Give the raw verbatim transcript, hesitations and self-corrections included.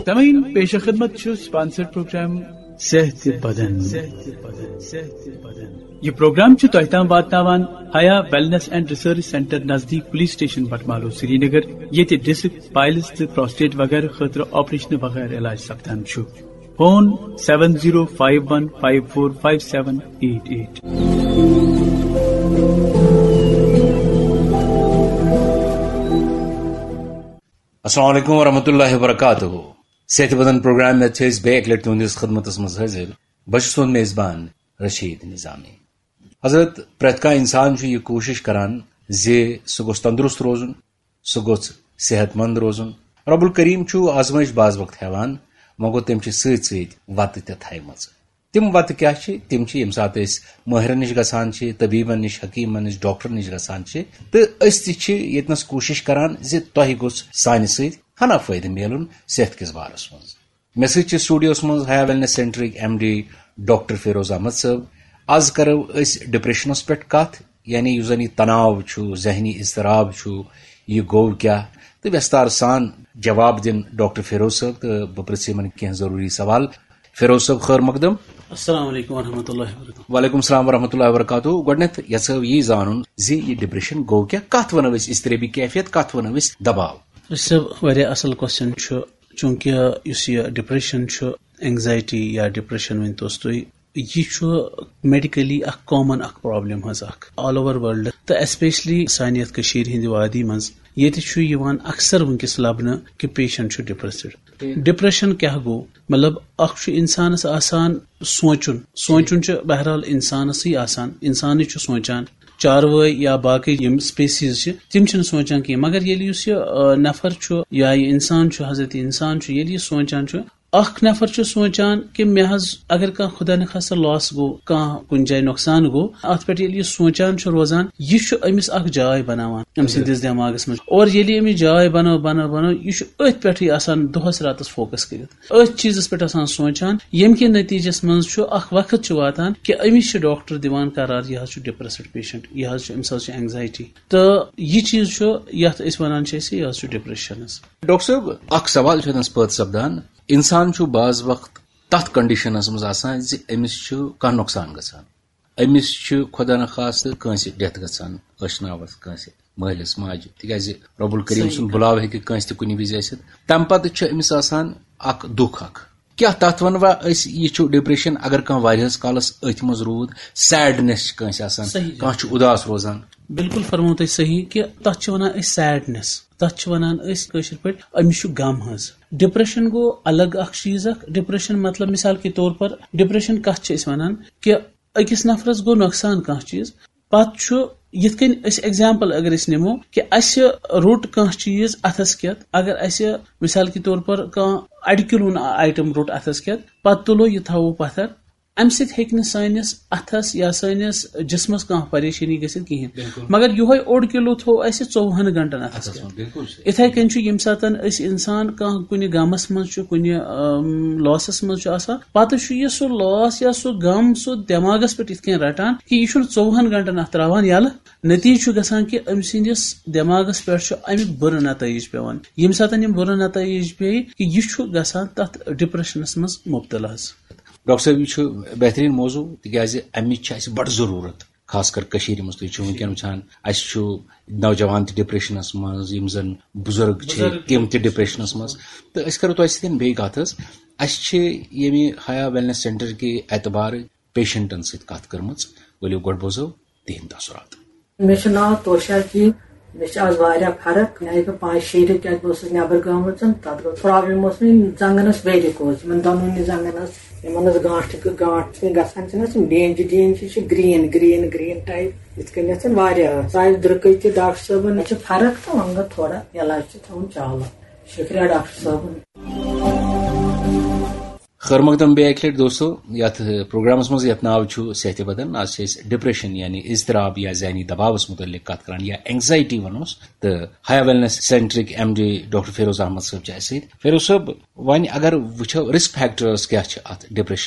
سامعین، پیش خدمت چھُ sponsored program صحت بدن۔ یہ پروگرام چھُ تۄہہِ تام واتناوان حیا ویلنس اینڈ ریسرچ سینٹر نزدیک پولیس اسٹیشن بٹمالو، سرینگر، ییٚتہِ ڈسک، پائلز تہٕ پراسٹیٹ وغیرہ خٲطرٕ آپریشن بغٲر علاج سپدان چھُ۔ Phone seven zero five one five four five seven eight eight۔ السلام علیکم ورحمۃ اللہ وبرکاتہ۔ صحت بدن پروگرام میں چھِ أسۍ بیٚیہِ اَکہِ لَٹہِ تُہٕنٛدِس خدمتس منٛز حٲضِر۔ بہٕ چھُس تُہُنٛد میزبان رشید نظامی۔ حضرت، پرٛٮ۪تھ کانٛہہ اِنسان چھُ یہِ کوٗشِش کران زِ سُہ گوٚژھ تندرست روزُن، سُہ گوٚژھ صحت مند روزُن۔ رب الکریم چھُ آزمٲیش بعض وقت ہٮ۪وان، وۄنۍ گوٚو تٔمۍ چھِ سۭتۍ سۭتۍ وتہٕ تہِ تھایمژٕ۔ تِم وتہٕ کیٛاہ چھِ؟ تِم چھِ ییٚمہِ ساتہٕ أسۍ مٲہرن نِش گژھان چھِ، طبیبن نِش، حکیمن نِش، ڈاکٹرن نِش گژھان چھِ، تہٕ أسۍ تہِ چھِ ییٚتنس کوٗشِش کران زِ تۄہہِ گوٚژھ سانہِ سۭتۍ ہنا فٲیدٕ میلُن صحت کِس بارس منٛز۔ مےٚ سۭتۍ چھِ studio ہس منٛز حیا ویلنس سینٹرٕکۍ M D doctor Feroz Ahmad صٲب۔ از کرو أسۍ ڈپریشنس پٮ۪ٹھ کتھ، یعنی یُس زن یہِ تناو چھُ، ذہنی اضطراب چھُ، یہِ گوٚو کیٛاہ؟ تہٕ ویستار سان جواب دِن ڈاکٹر فیروز صٲب، تہٕ بہٕ پرژھٕ یِمن کینٛہہ ضروٗری سوال۔ فیروز صٲب، خٲر مقدم۔ السلام علیکم ورحمۃ اللہ وبرکاتہ۔ وعلیکم السلام ورحمۃ اللہ وبرکاتہ۔ گۄڈٕنیتھ یژھو یی زانُن زِ یہِ ڈپریشن گوٚو کیٛاہ؟ کتھ ونو أسۍ اضطرابی کیفیت، کتھ ونو أسۍ دباو؟ رشید صٲب، واریاہ اصل question چھُ، چونکہ یُس یہِ ڈپریشن چھُ، اینگزائٹی یا ڈپریشن ؤنۍ توس تُہۍ، یہِ چھُ میڈیکلی اکھ common اکھ problem حظ اکھ all over world، تہٕ especially سانہِ یتھ کٔشیٖرِ ہٕنٛدِ وادی منٛز، ییٚتہِ چھُ یِوان اکثر وٕنکیٚس لبنہٕ کہِ patient چھُ depressed۔ ٹھیٖک۔ ڈپریشن کیٛاہ گوٚو؟ مطلب، اکھ چھُ انسانس آسان سونٛچُن، سونٛچُن چھُ بہرحال انسانسٕے آسان، انسانٕے چھُ سونٛچان۔ چاروٲے یا باقٕے یِم species چھِ، تِم چھِنہٕ سونٛچان کینٛہہ، مگر ییٚلہِ یُس یہِ، آ، نفر چھُ یا یہِ انسان چھُ، حضرت انسان چھُ، ییٚلہِ یہِ سونٛچان چھُ، اکھ نفر چھُ سونٛچان کہِ مےٚ حظ اگر کانٛہہ خدا نخواستہ loss گوٚو، کانٛہہ کُنہِ جایہِ نۄقصان گوٚو، اتھ پٮ۪ٹھ ییٚلہِ یہِ سونٛچان چھُ روزان، یہِ چھُ أمِس اکھ جاے بناوان أمۍ سٕنٛدِس دٮ۪ماغس منٛز۔ اور ییٚلہِ أمِس جاے بنٲو، بنٲو، بنٲو، یہِ چھُ أتھۍ پٮ۪ٹھٕے آسان دۄہس راتس focus کٔرِتھ، أتھۍ چیٖزس پٮ۪ٹھ آسان سونٛچان، ییٚمہِ کہِ نتیٖجس منٛز چھُ اکھ وقت چھُ واتان کہِ أمِس چھِ ڈاکٹر دِوان قرار، یہِ حظ چھُ depressed patient، یہِ حظ چھُ، أمِس حظ چھُ anxiety۔ تہٕ یہِ چیٖز چھُ، یَتھ أسۍ وَنان چھِ أسۍ، یہِ حظ چھُ ڈپریشنس۔ ڈاکٹر صٲب، اکھ سوال چھُ اَتٮ۪ن پٲدٕ سپدان۔ اِنسان چھُ بعض وقت تَتھ کنڈیشنس منٛز آسان زِ أمِس چھُ کانٛہہ نۄقصان گژھان، أمِس چھُ خۄدا نخواستہٕ کٲنٛسہِ ڈیتھ گژھان، ٲشناوس کٲنٛسہِ مٲلِس ماجہِ، تِکیازِ رب الکریم صحیح سُنٛد کتھ۔ بُلاو ہیٚکہِ کٲنٛسہِ تہِ کُنہِ وِزِ ٲسِتھ۔ تَمہِ پتہٕ چھُ أمِس آسان اکھ دُکھ اکھ۔ کیٛاہ تَتھ وَنوا أسۍ، یہِ چھُ ڈپریشن، اگر کانٛہہ واریاہس کالس أتھۍ منٛز روٗد، sadness چھِ کٲنٛسہِ آسان، صحیح۔ کانٛہہ چھُ اُداس روزان۔ بِلکُل فرموو تۄہہِ صحیح کہِ تَتھ چھِ وَنان أسۍ sadness، تَتھ چھِ وَنان أسۍ کٲشِر پٲٹھۍ أمِس چھُ غم حظ۔ ڈپریشن گوٚو الگ اکھ چیٖز اکھ۔ ڈپریشن مطلب، مثال کے طور پر، ڈپریشن کَتھ چھِ أسۍ وَنان کہِ أکِس نفرس گوٚو نۄقصان کانٛہہ چیٖز، پتہٕ چھُ، یِتھ کٔنۍ أسۍ example اگر أسۍ نِمو کہِ اَسہِ روٚٹ کانٛہہ چیٖز اَتھس کٮ۪تھ، اگر اَسہِ مثال کے طور پر کانٛہہ اَڑِ کِلوُن item روٚٹ اَتھس کٮ۪تھ، پتہٕ تُلو یہِ تھاوو پتھر، اَمہِ سۭتۍ ہیٚکہِ نہٕ سٲنِس اَتھس یا سٲنِس جسمس کانٛہہ پریشٲنی گٔژھِتھ کِہیٖنۍ۔ بِلکُل۔ مگر یِہوٚے اوٚڑ کِلوٗ تھوٚو اَسہِ ژوٚوُہن گھنٹن اَتھس اَتھس کٮ۪تھ۔ منٛز، بِلکُل صحیح۔ یِتھے کٔنۍ چھُ ییٚمہِ ساتہٕ أسۍ اِنسان کانٛہہ کُنہِ غمس منٛز چھُ، کُنہِ، أم، loss منٛز چھُ آسان، پتہٕ چھُ یہِ سُہ loss یا سُہ غم سُہ دٮ۪ماغس پٮ۪ٹھ یِتھ کٔنۍ رٹان کہِ یہِ چھُنہٕ ژوٚوُہن گھنٹن اَتھ تراوان یَلہٕ۔ نتیٖجہٕ چھُ گژھان کہِ أمۍ سٕنٛدِس دٮ۪ماغس پٮ۪ٹھ چھُ اَمیُک بُرٕ نتٲیج پٮ۪وان۔ ییٚمہِ ساتہٕ یِم بُرٕ نتٲیج پیٚیہِ کہِ یہِ چھُ گژھان تَتھ ڈپریشنس منٛز مُبتلا حظ۔ ڈاکٹر صٲب، یہِ چھُ بہتریٖن موضوع، تِکیازِ اَمِچ چھِ اَسہِ بڑٕ ضروٗرت، خاص کر کٔشیٖرِ منٛز۔ تُہۍ چھِو وٕنکیٚن وٕچھان، اَسہِ چھُ نوجوان تہِ ڈپریشنس منٛز، یِم زن بُزرگ چھِ، بُزرگ تِم تہِ ڈپریشنس منٛز۔ تہٕ أسۍ کرو تۄہہِ سۭتۍ بیٚیہِ کتھ حظ۔ اَسہِ چھِ ییٚمہِ حیا ویلنس سینٹر کہِ اعتبارٕ پیشنٹن سۭتۍ کتھ کٔرمٕژ۔ ؤلِو گۄڈٕ بوزو تِہنٛدۍ تاثرات۔ مےٚ چھُ ناو توشا جی۔ مےٚ چھِ آز واریاہ فرق۔ مےٚ آیہِ بہٕ پانٛژِ شیٚیہِ رٮ۪تۍ، کیٛازِ بہٕ ٲسٕس نٮ۪بر گٔمٕژ، تَتھ گوٚو problem اوس مےٚ زنٛگن ٲس varicose، یِمن دۄنوٕنی زنٛگن ٲس، یِمن ٲس گانٹھ، گانٹھ چھِ گژھان، چھِنہٕ حظ یِم ڈینجہِ ڈینجہِ چھِ green، green، green type، یِتھ کٔنۍ یَتھ واریاہ ٲس۔ سانہِ درٛکٕے تہِ ڈاکٹر صٲبن، مےٚ چھِ فرق تہٕ وۄنۍ گوٚو تھوڑا علاج تہِ تھاوُن چالو۔ شُکریہ ڈاکٹر صٲبُن۔ خٲر مقدم بیٚیہِ اَکہِ لَٹہِ دوستو، یَتھ پروگرامَس منٛز یَتھ ناو چھُ صحتِ بدن، آز چھِ أسۍ ڈپریشن یعنی اضطراب یا ذہنی دباوَس مُتعلِق کَتھ کران یا اینگزائٹی وَنوس۔ تہٕ حیا ویلنس سینٹرٕکۍ M D doctor Feroz Ahmad صٲب چھِ اَسہِ سۭتۍ۔ فیروز صٲب، وۄنۍ اگر وٕچھو risk factors کیٛاہ چھِ اَتھ ڈپریشن